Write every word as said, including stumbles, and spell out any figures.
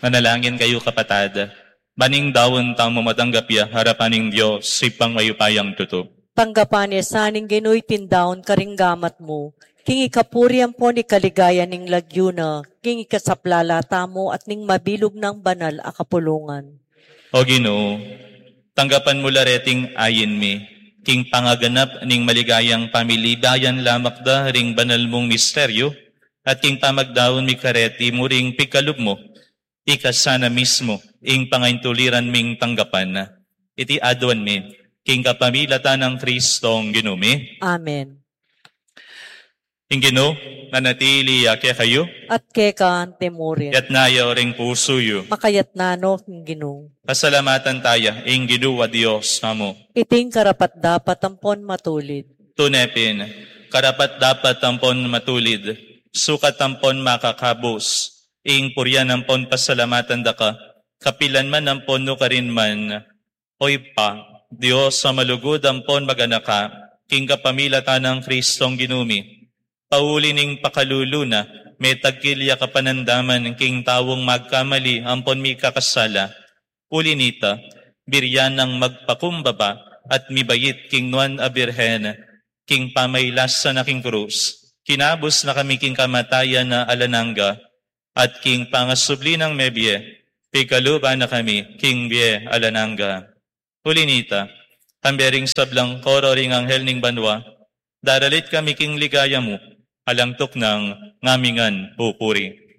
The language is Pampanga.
Manalangin kayu, kapatad, ban ing daun tamu matanggap ya arapan ning Dios, Ibpang mayupayang tutu. Tanggapan ne sa ning Ginu iting daun karing gamat mu, king ikapuri ampon ikaligaya ning lagyu na, king ikasaplala tamu at ning mabilug nang banal a kapulungan. O Ginu, tanggapan mu la reting ain mi, king pangaganap ning maligayang pamilibayan lamak da ring banal mung misteryu, at king pamagdaun mi kareti mu ring pikalub mu, ika sana mismu ing pangaintuliran ming tanggapan. Iti aduan mi king kapamilatan nang Kristong Ginu mi. Amen. Ing Ginu manatili ya kekayu. At keka antimurin. Yatna yu ring pusu yu. Makayatna no king Ginu. Pasalamatan taya ing Ginu a Dios tamu. Iting karapat-dapat ampon matulid. Tune pin, karapat-dapat ampon matulid, sukat ampon makakabus, ing purian ampon pasalamatan da ka, kapilan man ampon nukarin man, O Ibpa, Dios a malugud ampon maganaka, king kapamilatan nang Kristong Ginu mi. Pauli ning pakalulu na, metagkil ya kapanandaman king taung magkamali ampon mikakasala. Uli nita, buri ya nang magpakumbaba at mibait king Nuan a Birhen, king pamailasa na king krus, kinabus na kami king kamatayan a alang angga, at king pangasubli nang mebie, pigkaluban na kami king bie alang angga. Uli nita, kambe ring sablang koro ring anghel ning banua, daralit kami king ligaya mu, alang tuknang ngamingan pupuri.